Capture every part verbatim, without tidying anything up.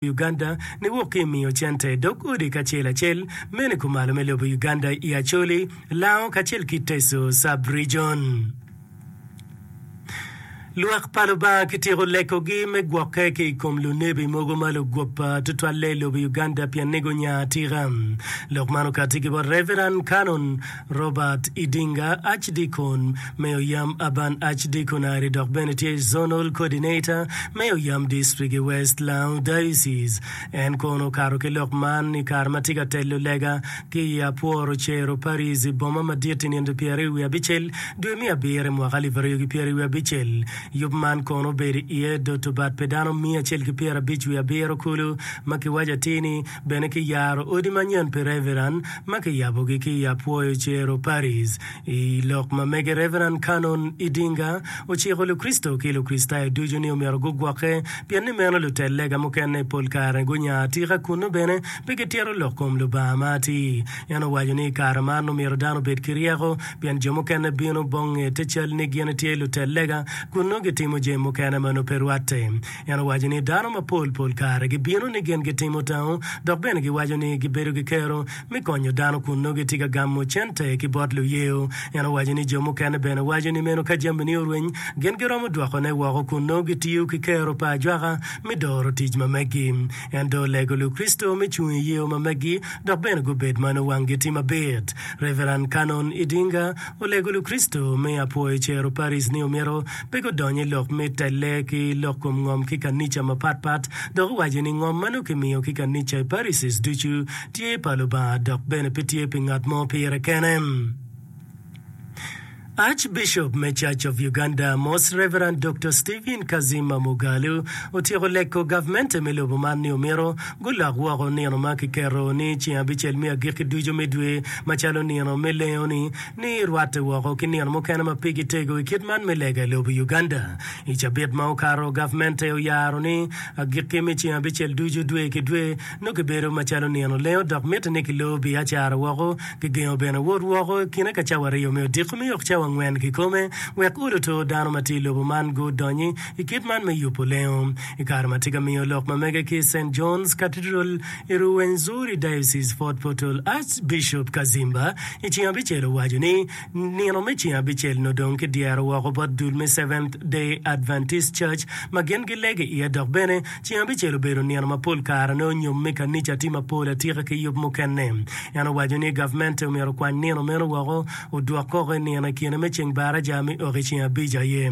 Uganda niwok ki i miyo cente dog odi kacel acel mene kumalo me lobo Uganda i Acholi, Lango kacel ki Teso Sub-Region. Lwak pa Lubanga kityeko lekogi me gwokke ki i kom lunebi mogo ma lugwoppa tutwalle i lobo Uganda pien ni gunya atika. Lok man okatti ki bot Reverend Canon Robert Idinga, Archdeacon me Oyam Urban Archdeaconry dok bene tye Zonal Coordinator me Oyam District i West Lango Diocese. En kono okato ki lok man i kare ma tye ka telo lega ki i Apworo Cero Parish i boma madit i nino pyeraryo wiye abicel dwe me abiro i mwaka alip aryo ki pyeraryo wiye abicel. Yub man kono obedo iye doto bat pi dano miya acel ki pyerabic wiye abiro kulu ma kiwaco atir ni bene kiyaro odi manyen pi Reverend ma kiyabogi ki i Apwoyo Cero Parish. I lok ma mege Reverend Canon Idinga ociko Lukricito ki Lukricitayo ducu ni omyero gugwokke pien ni meno lutel lega mukene pol kare gunya atika kunnu bene pe gitito lok kom Lubanga ma atir. En owaco ni i kare man omyero dano obed ki ryeko pien jo mukene bino bonge te cal ni gin tye lutel lega kun nongo gitimo jami mukene ma nongo pe rwatte. En owaco ni dano mapol pol kare gibino ni gin gitimo tango dok bene giwaco ni gibedo ki kero me konyo dano kun nongo gitye ka gamo cente ki bot luyeo. En owaco ni jo mukene bene waco ni meno ka jamini orweny gin giromo dwokone woko kun nongo gitiyo ki kero pa ajwaka me doro tic ma megi. En dong olego Lukricito me cung i yeo ma megi dok bene gubed ma nongo wanggi tye mabit. Reverend Canon Idinga olego Lukricito me Apwoyo Cero Parish ni omyero pe gudony i lok me telle ki lok kom ngom ki kanica mapatpat dok owaco ni ngom ma nongo kimiyo ki kanica i parishes ducu tye pa Lubanga dok bene pe tye pi ngat mo pire kene. Archbishop me Church of Uganda, Most Reverend Doktor Stephen Kazima Mugalu otyeko leko gavmente me lobo man ni omyero gulok woko nino ma kiketo ni ceng abicel me agikki ducu me dwe macalo nino me lengo-ni ni rwatte woko ki nino mukene ma pigi tego i kit man me lega i lobo Uganda. I cabit ma okato, gavmente oyaro ni agikki me ceng abicel ducu dwe ki dwe nongo kibedo macalo nino lengo dok mitte ni kilor biacara woko. Kigengo bene wot woko i kine ka cawa aryo me odiko me yok cawa angwen kikome wek oloto dano ma tye i lobo man gudonyi i kit man me yubo lengo. I kare ma tye ka miyo lok ma mege ki i Saint John's Cathedral i Ruwenzori Diocese, Fort Portal, Archbishop Kazimba i ceng abicel owaco ni nino me ceng abicel nongo dong kidyero woko bot dul me Seventh Day Adventist Church ma gin gilego iye dok bene ceng abicel obedo nino ma pol kare nongo nyom me kanica tye mapol atika ki yub mukene. En owaco ni gavmente omyero okwany nino meno woko odwok koko i nino i kine me ceng baraja me ok i ceng abic aye.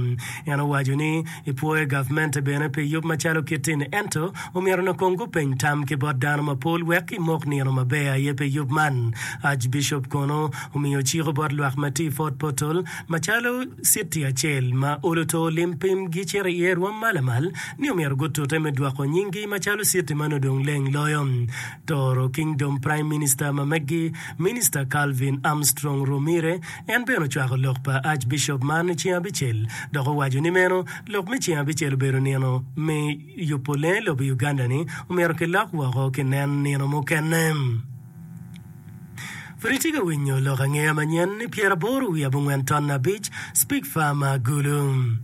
En owaco ni epwoyo gavmente bene pi yub macalo kit-ti-ni ento omyero onongo kong gupeny tam ki bot dano mapol wek kimok nino maber aye pi yub man. Archbishop kono omiyo ciko bot lwak ma tye i Fort Portal macalo citi acel ma olo to lim pim gicito iye rwom ma lamal ni omyero gutute me dwoko nyinggi macalo citi ma nongo dong leng loyo. Toro Kingdom Prime Minister ma meggi, Minister Calvin Armstrong Romire, en bene ocwako lok pa Archbishop man i ceng abicel dok owaco ni meno lok me ceng abicel obedo nino me yubo lee lobo Uganda ni omyero kilok woko kinen nino mukene. Pud itye ka winyo lok angeya manyen ni pyeraboro wiye abongwen ton abic Speak Farmer Gulu.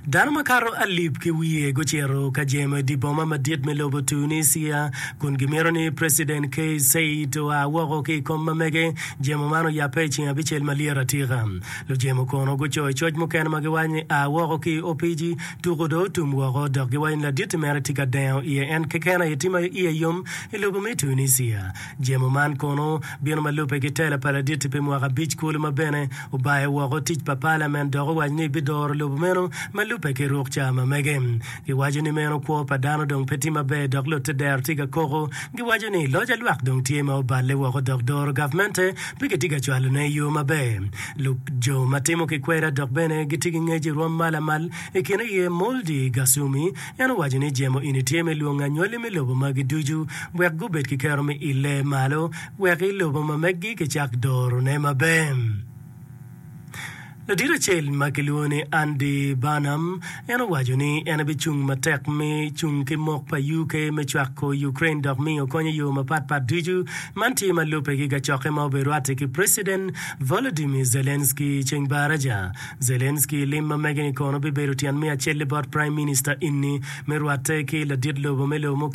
Dano makato alip ki wiye gucito ka jemo i dye boma madit me lobo Tunisia kun gimito ni Preciden Kais Saied oa woko ki i kom ma mege. Jemo man oyabbe i ceng abicel ma lyet atika. Lujemo kono gucoyo coc mukene ma giwaco ni a woko ki i opiji, tuko dong otum woko dok giwaco ni laditti mere tye ka dengo iye en keken aye tye ma iye yom i lobo me Tunisia. Jemo man kono bino ma lubbe ki tela pa laditti pi mwaka abic kulu ma bene obayo woko tic pa palament dok owaco ni ebidoro lobo meno ma lubbe ki ruk ca ma mege. Giwaco ni meno kwo pa dano dong pe tye maber dok lutte dero tye ka koko. Giwaco ni loc alwak dong tye ma oballe woko dok doro gavmente pe kitye ka cwalone i yo maber. Lub jo ma timo ki kweda dok bene gitye ki ngec i rwom ma lamal i kine iye Moldi Gasumi en owaco ni jemo eni tye me lwongo anywali me lobo magi ducu wek gubed ki kero me ille malo wek i lobo ma meggi kicak dorone maber. Ladit acel ma kilwongo ni Andy Burnham en owaco ni en ebicung matek me cung ki mok pa UK me cwako Ukraine dok miyo kony i yo mapatpat ducu. Man tye ma lubbe ki kacokke ma obedo rwatte ki President Volodymyr Zelensky ceng baraja. Zelensky lim ma mege-ni kono bibedo tyen me acel bot Prime Minister inni me rwatte ki ladit lobo me lobo mukene.